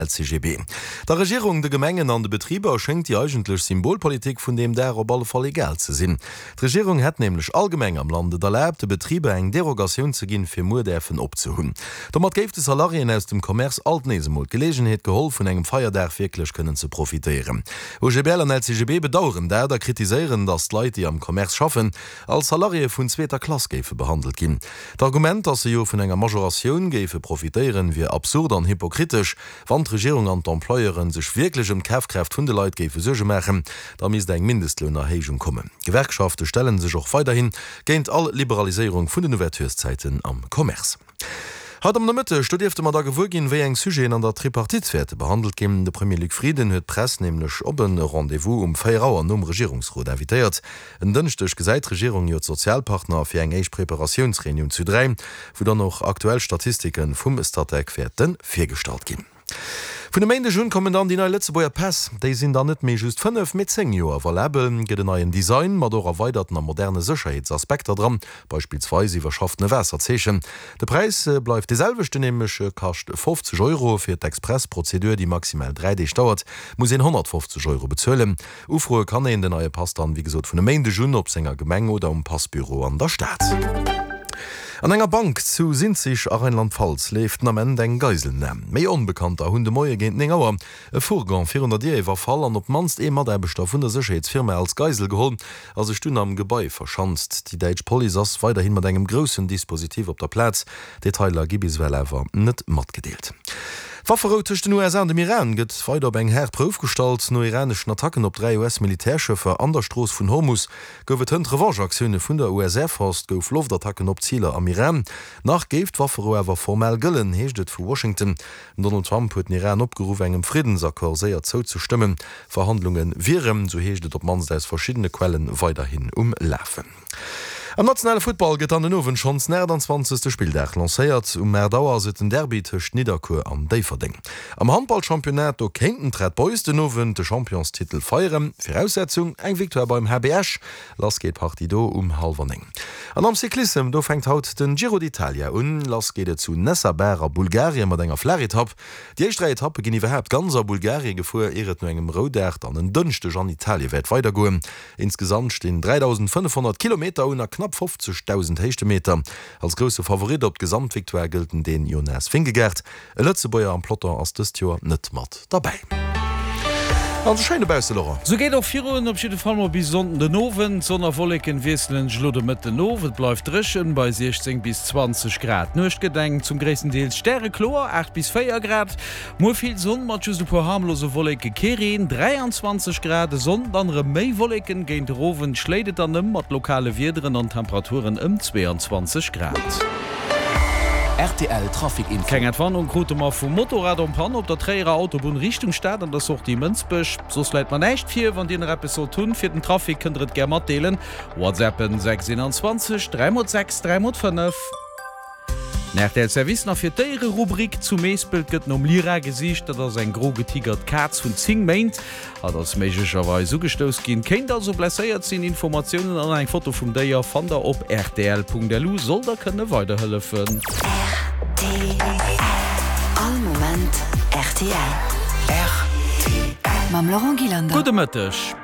LCGB. Der Regierung, de Gemengen an de Betriber schéngt déi eigentlech Symbolpolitik vun deem Dag op alle Fall egal ze sinn. D'Regierung hätt nämlech all Gemeng am Land et erlaabt, de Betriber eng Derogatioun ze ginn, fir muer däerfen opzehunn. Domat géif de Salariéen aus dem Commerce alt nees emol d'Geleegenheet geholl, vun engem Feierdag wierklech kënnen ze profitéieren. OGBL an LCGB bedaueren dat a kritiséieren, datt d'Leit, déi am Commerce schaffen, als Salariéë vun zweeter Klass géife behandelt ginn. D'Argument, datt se jo vun enger Majoratioun géife profitéieren, wier absurd an hypokritesch. Wann d'Regierung an d'Employeuren sech wierklech ëm d'Kafkraaft vun de Leit géife Suerge maachen, da misst eng Mindestlounerhéijung kommen. D'Gewerkschafte stelle sech och weiderhi géint all Liberaliséierung vun den Ouvertureszäiten am Commerce. Haut am Nomëtteg, do dierfte mer da gewuer ginn, wéi eng Sujeten an der Tripartite wäerte behandelt ginn. De Premier Luc Frieden huet d'Press nämlech op e Rendez-vous um 4 Auer nom Regierungsrot invitéiert. En Dënschdeg gesäit d'Regierung jo d'Sozialpartner fir eng éischt Preparatiounsreunioun zu 3, wou dann och aktuell Statistike vum Statec wäerte virgestallt ginn. Vun e Méindeg un kommen dann déi nei Lëtzebuerger Päss. Déi sinn dann net méi just 5, mee 10 Joer valabel. Gëtt en neien Design mat och erweiderten a moderne Sécherheetsaspekter dran, beispillsweis iwwerschaffene Waasserzeechen. De Präis bleift dee selwechten, nämlech kascht 50 Euro. Fir d'Express-Prozedur, déi maximal 3 Deeg dauert, muss een 150 Euro bezuelen. Ufroe kann een den neie Pass dann, wéi gesot, vun e Méindeg un op senger Gemeng oder um Passbüro an der Stad. An enger Bank zu Sinzig a Rheinland-Pfalz leeft den Ament eng Geiselnam. Méi Onbekannter hunn de Moie géint 9 Auer e Fourgon virun der Dier iwwerfall an op d'mannst ee Mataarbechter vun der Sécherheetsfirma als Geisel geholl a sech dunn am Gebai verschanzt. Déi däitsch Police ass weiderhi mat engem groussen Dispositif op der Plaz. Detailer gi bis ewell awer net matgedeelt. D'Wafferou tëscht den USA an dem Iran gëtt weider op eng haart Prouf gestallt. No iraneschen Attacken op 3 US-Militärschëffer an der Strooss vun Hormus gouf et hënt Revanche-Aktioune vun der US Air Force. Et gouf Loftattacken op Ziler am Iran. Nach géif d'Wafferou awer formell gëllen, heescht et vu Washington. Den Donald Trump huet den Iran opgeruff, engem Friddensaccord séier zouzestëmmen. Verhandlunge wieren, sou heescht et op d'mannst aus verschiddene Quellen, weiderhin um Lafen. Am nationale Futtball gëtt an den Owend schonns den 28. Spilldag lancéiert. Um 8 Auer ass et den Derby tëscht Nidderkuer an Déifferdeng. Am Handballchampionnat, do kéinten d'Red Boys den Owend de Championstitel feieren. Viraussetzung, eng Victoire beim HB Esch. Lass geet d'Partie do um hallwer 9. An am Cyclissem, do fänkt haut den Giro d'Italia un. Lass geet et zu Nessebar a Bulgarien mat enger Flaachetapp. Déi éischt 3 Etappe ginn iwwerhaapt ganz a Bulgarien gefuer, ier et no engem Roudag dann en Dënschdeg an Italie wäert weidergoen. Insgesamt stinn 3.500 Kilometer un a knapp 50.000 Héichtemeter. Als grousse Favorit op d'Gesamtvictoire gëllt den Dän Jonas Vingegaard. E Lëtzebuerger am Peloton ass dëst Joer net mat derbäi. An sou schéin dobausse, Laurent. Sou geet och virun, op jidde Fall mol bis Sonnden den Owend. Sonn a Wolleken wiesselen sech elo de Mëtten of, et bleift dréchen bei 16 bis 20 Grad. D'Nuecht gëtt eng zum gréissten Deels stärekloer, 8 bis 4 Grad. Muer vill Sonn mat just e puer harmlose Wolleke, kee Reen, 23 Grad. E Sonnden dann erëm méi Wolleken, géint de Owend schléit et dann ëm mat lokale Wiederen an Temperaturen ëm 22 Grad. Rtl Trafic Info. Keng Entwarnung krute mer vum Motorrad en panne op der Tréierer Autobunn Richtung Stad an der Sortie Mënsbech. Soss läit mer näischt vir. Wann dir nach eppes sollt hunn fir den Trafic, kënnt der et gär matdeelen. Whatsappen 6 21 3 x 6 3 x 5. Den rtl Service nach fir d'Déiererubrik. Zu Meespelt gëtt nom Lyra gesicht. Dat ass eng gro getigert Kaz vun 10 Méint. Hatt ass méiglecherweis ugestouss ginn, kéint also blesséiert sinn. Informatiounen an eng Foto vum Déier fannt der op rtl.lu. Soll der kënne weiderhëllefen. Rtl, All Moment rtl. Mam Laurent Gillander. Gudde Mëtteg.